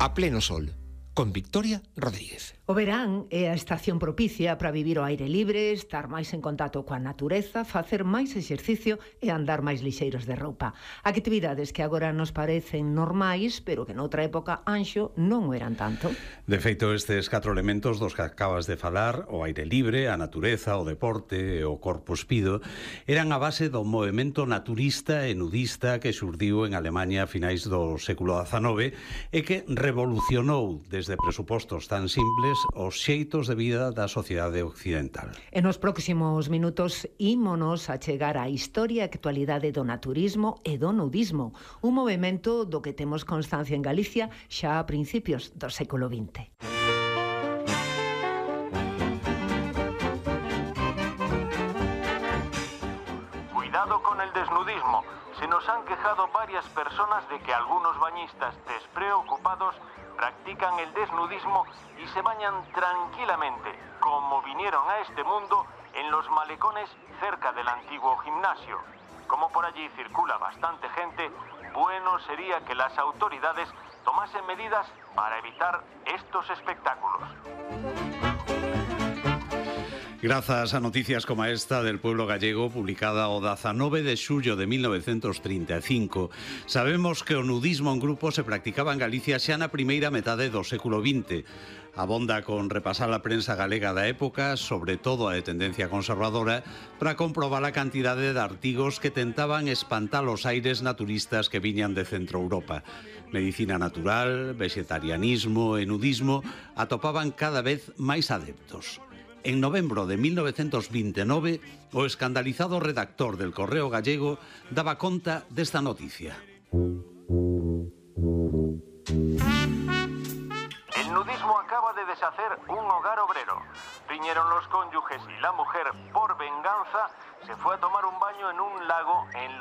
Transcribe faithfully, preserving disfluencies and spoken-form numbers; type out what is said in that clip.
A pleno sol, con Victoria Rodríguez. O verán é a estación propicia para vivir ao aire libre, estar máis en contacto coa natureza, facer máis exercicio e andar máis lixeiros de roupa. Actividades que agora nos parecen normais, pero que noutra época, Anxo, non o eran tanto. De feito, estes catro elementos dos que acabas de falar, o aire libre, a natureza, o deporte e o corpo espido, eran a base do movemento naturista e nudista que xurdiu en Alemaña a finais do século dezanove e que revolucionou desde presupostos tan simples os xeitos de vida da sociedade occidental. E nos próximos minutos ímonos a chegar á historia e actualidade do naturismo e do nudismo, un movemento do que temos constancia en Galicia xa a principios do século vinte. Cuidado con el desnudismo. Se nos han quejado varias personas de que algunos bañistas despreocupados practican el desnudismo y se bañan tranquilamente, como vinieron a este mundo en los malecones cerca del antiguo gimnasio. Como por allí circula bastante gente, bueno sería que las autoridades tomasen medidas para evitar estos espectáculos. Grazas a noticias como esta del pueblo gallego, publicada o dezanove de xullo de mil novecientos trinta e cinco, sabemos que o nudismo en grupo se practicaba en Galicia xa na primeira metade do século vinte. Abonda con repasar a prensa galega da época, sobre todo a de tendencia conservadora, para comprobar a cantidade de artigos que tentaban espantar os aires naturistas que viñan de Centro Europa. Medicina natural, vegetarianismo e nudismo atopaban cada vez máis adeptos. En novembro de mil novecientos vintenove, o escandalizado redactor del Correo Gallego daba conta desta noticia. El nudismo acaba de deshacer un hogar obrero. Riñeron los cónyuges y la mujer, por venganza, se fue a tomar un baño en un lago en lo